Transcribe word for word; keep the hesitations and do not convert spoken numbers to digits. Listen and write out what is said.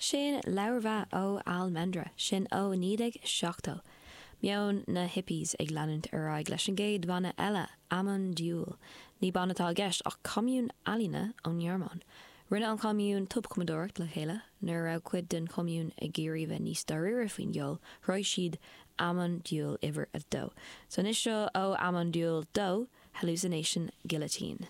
Sin leabhar ó Almendra, sin ó naoi déag seachtó. Meon na hippies ag leanúint ar aghaidh leis an gcéad bhanna eile, Amon Düül. Ní banna atá i gceist ach commune ealaíne ón nGearmáin. Rinne an commune tobchumadóireacht le chéile, nuair a raibh cuid den chommune ag iarraidh bheith níos dáiríre faoin gceol, chruthaigh siad Amon Düül uimhir a dó. So anois seo ó Amon Düül dó, Hallucination Guillotine.